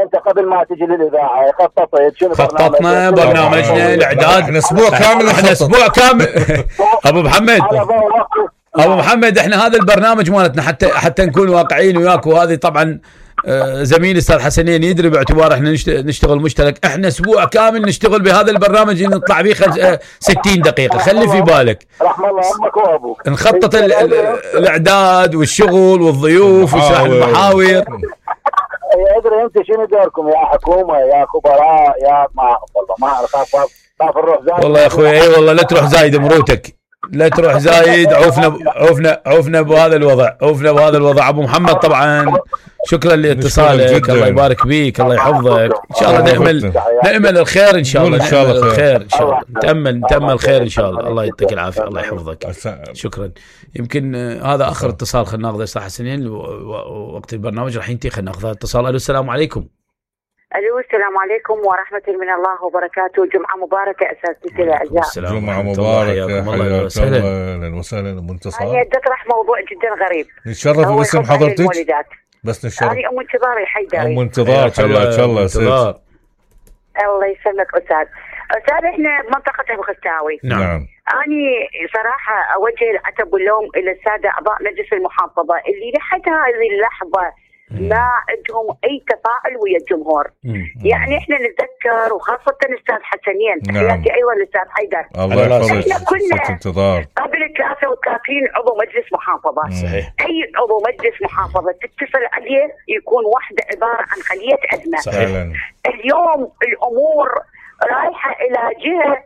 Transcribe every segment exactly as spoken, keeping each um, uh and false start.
انت قبل ما تجي للاذاعه خططت شنو خططنا برنامجنا الاعداد احنا اسبوع كامل احنا اسبوع كامل ابو محمد ابو محمد احنا هذا البرنامج مالتنا حتى حتى نكون واقعيين وياك، وهذه طبعا زميلي استاذ حسنين يدري باعتبار احنا نشتغل مشترك، احنا اسبوع كامل نشتغل بهذا البرنامج اللي نطلع فيه ستين دقيقه. خلي في بالك رحم الله امك وابوك نخطط الاعداد والشغل والضيوف وشرح المحاور. ادري انت شنو دوركم يا حكومه يا خبراء يا ما والله ما اعرف خاف نروح زايد. والله يا اخوي اي والله لا تروح زايد مروتك، لا تروح زايد. عوفنا عوفنا عوفنا بهذا الوضع، عوفنا بهذا الوضع. ابو محمد طبعا شكرا لاتصالك، الله يبارك بيك، الله يحفظك. ان شاء الله نأمل نأمل الخير ان شاء الله، ان شاء الله الخير ان شاء الله، نتأمل نتأمل خير ان شاء الله. الله يعطيك العافيه، الله يحفظك. شكرا. يمكن هذا اخر اتصال خلينا ناخذه استاذ حسنين، وقت البرنامج راح ينتهي. خلينا ناخذ اتصال. الو السلام عليكم. الو السلام عليكم ورحمه من الله وبركاته. جمعه مباركه اساتذتي الاعزاء. جمعه مباركه، حياك الله، اهلا وسهلا ام انتصار. انا اطرح موضوع جدا غريب. نتشرف باسم حضرتك. بس نتشرف. انا ام انتظار الحيدري. ام انتظار حياك الله ست. الله يسلمك استاذ. استاذ احنا بمنطقه ابو خستاوي. نعم. اني صراحه اوجه العتب واللوم الى الساده اعضاء مجلس المحافظه اللي لحد هذه اللحظه ما عندهم اي تفاعل ويا الجمهور. مم. يعني احنا نتذكر وخاصه الاستاذ حسنين، تحياتي نعم. ايضا الاستاذ حيدر. الله يحفظك. احنا كنا انتظار قبل ثلاثة وثلاثين عضو مجلس محافظه. صحيح. اي عضو مجلس محافظه تتصل عليه يكون واحده عباره عن خليه ازمه. صحيح. اليوم الامور رايحه الى جهه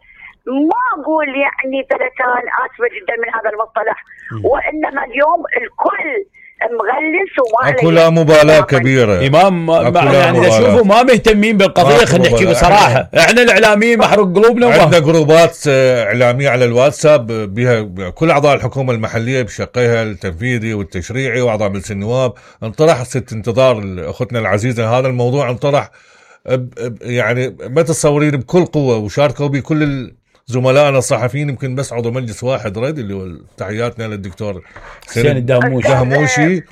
ما اقول يعني ثلثان، اسفه جدا من هذا المصطلح، وانما اليوم الكل مغلس وما اكو لا مبالاه كبيره. امام ما يعني اذا شوفوا ما مهتمين بالقضيه، خلينا نحكي بصراحه. احنا الاعلاميين محروق قلوبنا. عندنا جروبات اعلاميه على الواتساب بها كل اعضاء الحكومه المحليه بشقيها التنفيذي والتشريعي واعضاء مجلس النواب. انطرح ست انتظار اختنا العزيزه، هذا الموضوع انطرح يعني ما تتصورين بكل قوه، وشاركوا بكل زملائنا الصحفيين. يمكن بس عضو مجلس واحد رد اللي هو تحياتنا للدكتور حسين الدهموشي دهموشي،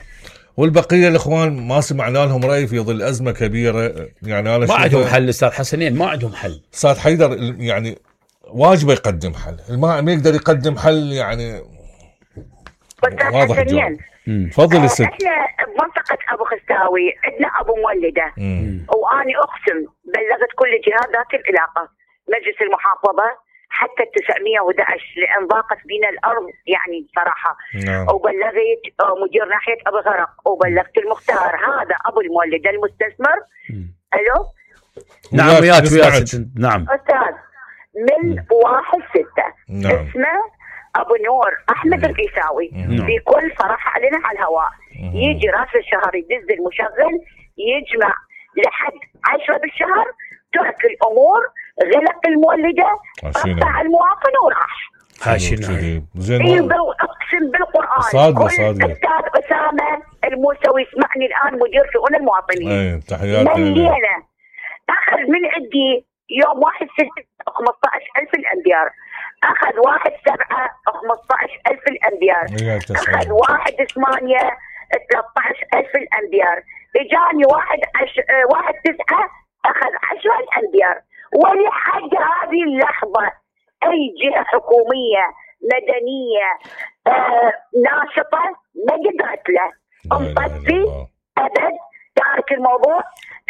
والبقيه الاخوان ما سمعنا لهم راي في ظل ازمه كبيره. يعني انا ما عندهم حل استاذ حسنين، ما عندهم حل. استاذ حيدر يعني واجبه يقدم حل، ما ما يقدر يقدم حل يعني واضح جدا. تفضل الست. احنا بمنطقه ابو خستاوي عندنا ابو مولده، واني اقسم بلغت كل جهات ذات العلاقه، مجلس المحافظه حتى تسعمية وأحد عشر لان ضاقت بنا الارض يعني صراحه. نعم. وبلغت مدير ناحيه ابو غرق، وبلغت المختار، هذا ابو المولده المستثمر. الو نعم وياك وياك. نعم استاذ من واحد ستة. نعم. اسمه ابو نور احمد القيساوي. بكل صراحه علينا على الهواء. يجي راس الشهر يدز المشغل يجمع لحد عشرة بالشهر، ترك الامور، غلق المولده، قطع المواطن وراح. هاشنا زين. اقسم بالقران صادقه صادقه. استاذ اسامه الموسوي يسمعني الان، مدير شؤون المواطنين. اي تحياتي. مليانه اخذ من عندي يوم واحد ستة خمسة عشر ألف الامبيار، اخذ واحد سبعة خمسة عشر ألف الامبيار، اخذ واحد ثمانية ثلاثة عشر ألف الامبيار، اجاني واحد عش... واحد تسعة اخذ عشرة الامبيار. ولحد هذه اللحظه اي جهه حكوميه مدنيه آه ناشطه ما قدرت له. مطفي ابد، تارك الموضوع.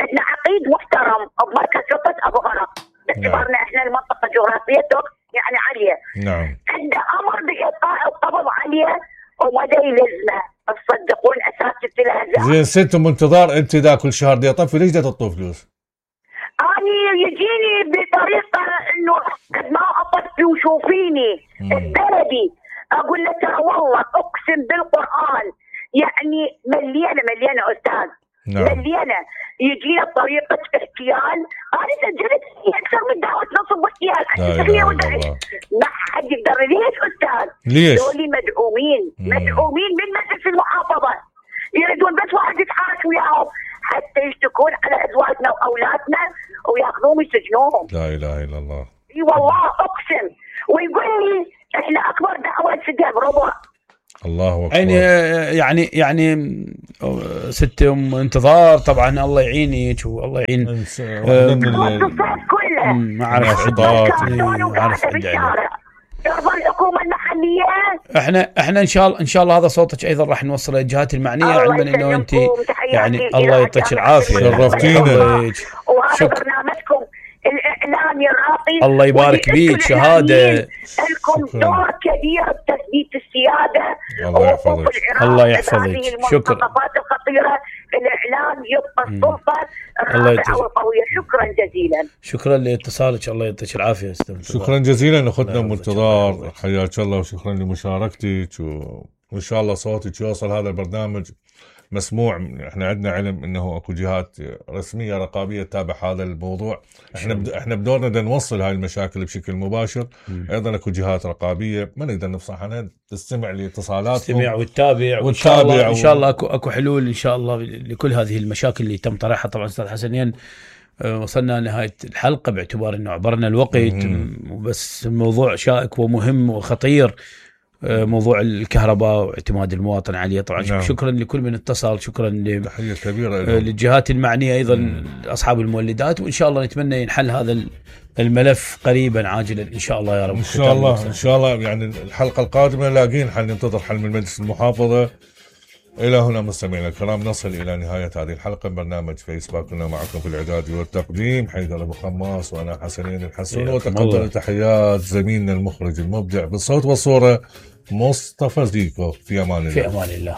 عندنا عقيد محترم بمركز شرطه ابو غرق، باعتبارنا احنا المنطقه جغرافيته يعني عاليه. نعم. عنده امر بايقاع القبض عليه ومدى يلزمه. تصدقون اساتذه الازهر. زين ست ام انتظار، انت اذا كل شهر دي طفي ليش دا تطوف فلوس؟ اني يجيني بطريقه انه قد ما اطفي وشوفيني بلدي، اقول له ترى والله اقسم بالقران يعني مليانه مليانه استاذ. نعم. مليانه يجينا بطريقه احتيال. انا سجلت اكثر من دعوه نصب واحتيال ما حد يقدر. ليش استاذ؟ ليش؟ دولي مدعومين مدعومين من مجلس المحافظه، يريدون بس واحد يتحاش وياهم حتى يشتكون على ازواجنا واولادنا وياخذوهم يسجنوهم. لا اله الا الله. اي والله اقسم. ويقول لي احنا اكبر دعوه سجن ربع. الله اكبر. يعني يعني يعني ست ام انتظار طبعا الله يعينك والله يعين ما اعرف ما اعرف ترضى الحكومه المحليه. احنا احنا ان شاء الله ان شاء الله هذا صوتك ايضا راح نوصله للجهات المعنيه، علما انه انت يعني الله يعطيك العافيه شرفتينا وهذا برنامجكم الاعلامي الراقي الله يبارك بيك شهاده لكم دور كبير بتثبيت السياده الله يحفظك الله يحفظك شكرا الخطيره الاعلام يبقى السلطه الرافعه والقويه. شكرا جزيلا شكرا لاتصالك الله يعطيك العافيه استاذ. شكرا جزيلا اخوتنا منتظار حياك الله وشكرا لمشاركتك وان شاء الله صوتك يوصل هذا البرنامج مسموع. احنا عندنا علم انه اكو جهات رسميه رقابيه تتابع هذا الموضوع. احنا بد... احنا بدورنا بدنا نوصل هاي المشاكل بشكل مباشر. م. ايضا اكو جهات رقابيه ما نقدر نفصح عنها تستمع لاتصالاتهم تستمع وتتابع وان شاء الله و... ان شاء الله اكو اكو حلول ان شاء الله لكل هذه المشاكل اللي تم طرحها. طبعا استاذ حسنين وصلنا لنهايه الحلقه باعتبار انه عبرنا الوقت وبس الموضوع شائك ومهم وخطير موضوع الكهرباء واعتماد المواطن عليه. طبعا نعم. شكرا لكل من اتصل شكرا تحيه كبيره للجهات المعنيه ايضا مم. اصحاب المولدات وان شاء الله نتمنى ينحل هذا الملف قريبا عاجلا ان شاء الله يا رب. ان شاء الله ان شاء الله يعني الحلقه القادمه لاقين حل ننتظر حل من مجلس المحافظه. الى هنا مستمعينا الكرام نصل الى نهايه هذه الحلقه من برنامج فيسبوك. كنا معكم في الاعداد والتقديم حيدر ابو خماس وانا حسنين الحسون وتقبل تحيات زميلنا المخرج المبدع بالصوت والصوره مصطفى زيكو. في امان الله. في امان الله.